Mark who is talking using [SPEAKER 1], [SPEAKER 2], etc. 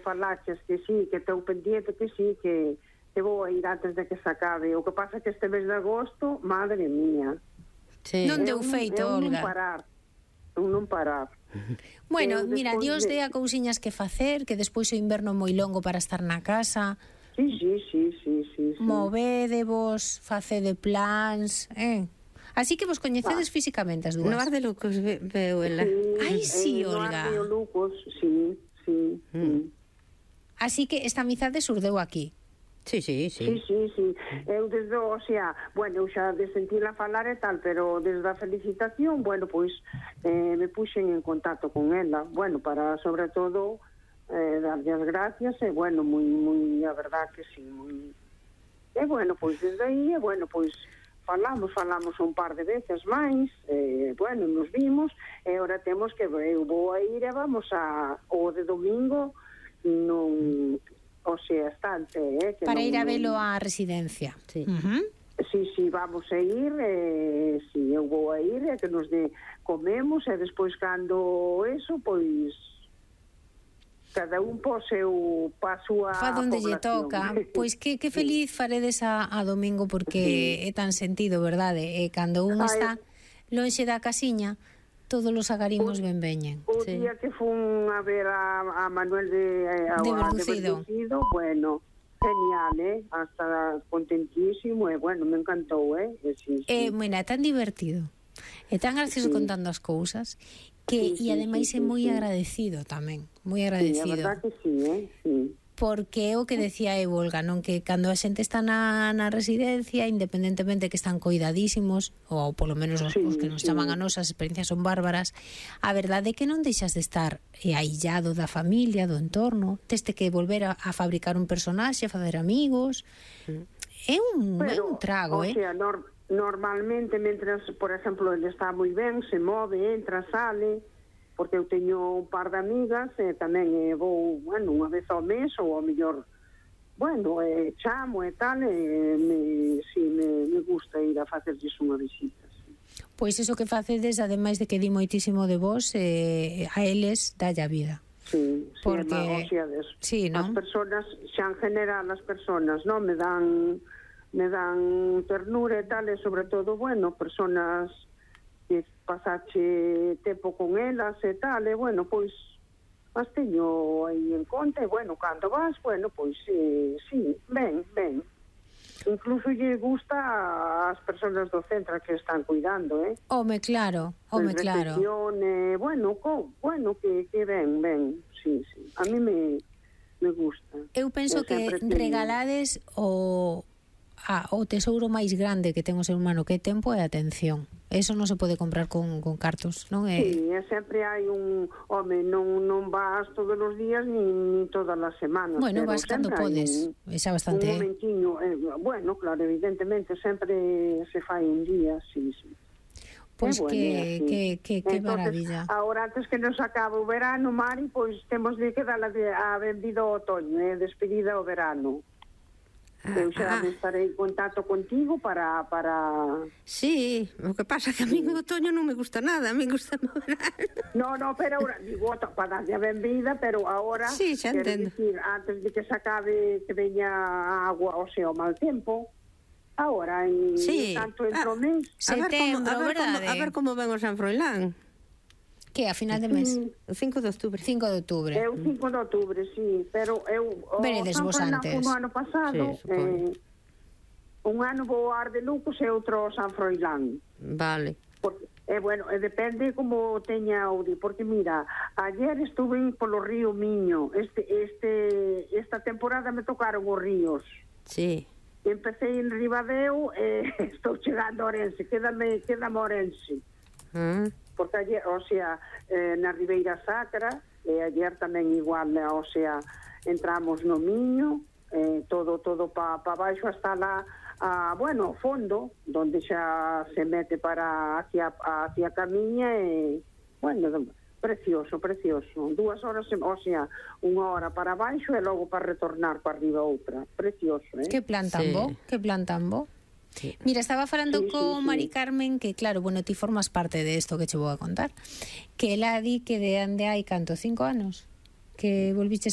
[SPEAKER 1] falaches que sí, que estou pendiente, que sí, que vou a ir antes de que se acabe. O que pasa é que este mes de agosto, madre mía,
[SPEAKER 2] Non deu feito, Olga.
[SPEAKER 1] Non parar.
[SPEAKER 2] Bueno, mira, Dios dea cousiñas que facer, que despois o inverno é moi longo para estar na casa.
[SPEAKER 1] Sí.
[SPEAKER 2] Movédevos, facede plans, Así que vos coñecedes físicamente as dúas.
[SPEAKER 3] No Ar de Lucos veo ela.
[SPEAKER 2] Ai, sí, Olga.
[SPEAKER 1] No Ar de Lucos, sí.
[SPEAKER 2] Así que esta amizade surdeu aquí.
[SPEAKER 3] Sí.
[SPEAKER 1] Eu desde, o sea, bueno, eu xa de sentirla falar e tal, pero desde a felicitación, bueno, pois me puxen en contacto con ela, bueno, para, sobre todo, darlle as gracias, e, bueno, moi, a verdad que sí, moi... E, bueno, pois desde aí, bueno, pois falamos un par de veces máis, bueno, nos vimos, e agora temos que, eu vou a ir e vamos o de domingo, non... O sea, estante, que
[SPEAKER 2] para ir a velo á residencia.
[SPEAKER 3] Sí.
[SPEAKER 1] Sí, vamos a ir, sí, eu vou a ir, que nos comemos, e despois cando eso, pois cada un po seu paso a
[SPEAKER 2] fa donde lle toca. Pois que feliz faredes a domingo, porque é tan sentido, verdade? E cando un está lonxe da casiña, todos os agarimos ben veñen.
[SPEAKER 1] O día que fun a ver a Manuel de Berrucido, bueno, genial, hasta contentísimo, e bueno, me encantou, sí.
[SPEAKER 2] Mira, é tan divertido, é tan gracioso contando as cousas, que e ademais é moi agradecido tamén, moi agradecido.
[SPEAKER 1] Sí, a verdad que sí, sí.
[SPEAKER 2] Porque é o que decía Olga, non, que cando a xente está na residencia, independentemente que están coidadísimos, ou polo menos os que nos chaman a nos, as experiencias son bárbaras, a verdade é que non deixas de estar aillado da familia, do entorno, teste que volver a fabricar un personaxe, a fazer amigos, é un trago,
[SPEAKER 1] o sea, normalmente, mentras, por exemplo, ele está moi ben, se move, entra, sale, porque eu teño un par de amigas e tamén vou, bueno, unha vez ao mes ou ao mellor, bueno, chamo e tal, me gusta ir a facerlles unha visita.
[SPEAKER 2] Pois iso que facedes, ademais de que di moitísimo de vos, a eles dalle a vida.
[SPEAKER 1] Sí, porque
[SPEAKER 2] sí,
[SPEAKER 1] as persoas, xa en general as persoas, non, me dan ternura e tal, e sobre todo, bueno, persoas que pasache tempo con elas e tal, e bueno, pois as teño aí en conta, e bueno, cando vas, bueno, pois sí, ben. Incluso lle gusta ás persoas do centro que están cuidando,
[SPEAKER 2] Home, claro.
[SPEAKER 1] Bueno, que ben, sí. A mí me gusta.
[SPEAKER 2] Eu penso que regalades o tesouro máis grande que ten o ser humano, que é tempo e atención. Eso non se pode comprar con cartos, non é?
[SPEAKER 1] Sí, sempre hai home, non vas todos os días ni todas as semanas.
[SPEAKER 2] Bueno, vas cando podes, xa bastante.
[SPEAKER 1] Un momentiño, bueno, claro, evidentemente sempre se fai un día, sí.
[SPEAKER 2] Pois que maravilla.
[SPEAKER 1] Agora, antes que nos acabe o verano, Mari, pois temos de que dar a benvida ao otoño, despedida ao verano. Eu xa estarei en contacto contigo para...
[SPEAKER 3] Sí, o que pasa é que a mí o otoño non me gusta nada, a mí gusta o verano.
[SPEAKER 1] No, pero ahora, digo, para darlle a benvida, pero ahora,
[SPEAKER 3] sí, xa entendo.
[SPEAKER 1] Decir, antes de que se acabe, que veña a agua, o sea, o mal tempo, ahora, tanto entre o mes...
[SPEAKER 2] A
[SPEAKER 3] ver como ven o San Froilán.
[SPEAKER 2] Que a final de mes?
[SPEAKER 3] O 5 de outubro.
[SPEAKER 2] 5 de outubro.
[SPEAKER 1] É o 5 de outubro, sí, pero eu
[SPEAKER 2] veredes vos antes.
[SPEAKER 1] O ano pasado, un ano vou ao Ar de Lucos e outro ao San Froilán.
[SPEAKER 3] Vale.
[SPEAKER 1] Porque, bueno, depende como teña o día, porque mira, ayer estuve polo río Miño, esta temporada me tocaron os ríos.
[SPEAKER 3] Sí.
[SPEAKER 1] Empecé en Ribadeo e estou chegando a Orense, quédame Orense. Porque ayer, o sea, na Ribeira Sacra, e ayer tamén igual, o sea, entramos no Miño, todo pa baixo hasta bueno, o fondo, donde xa se mete para hacia a Camiña, e, bueno, precioso. 2 horas, o sea, 1 hora para baixo e logo para retornar para arriba outra. Precioso,
[SPEAKER 2] Que plan tan bo. Sí. Mira, estaba falando con Mari Carmen, que claro, bueno, ti formas parte de esto que che vou a contar, que ela di que de ande hai canto, 5 anos que volviches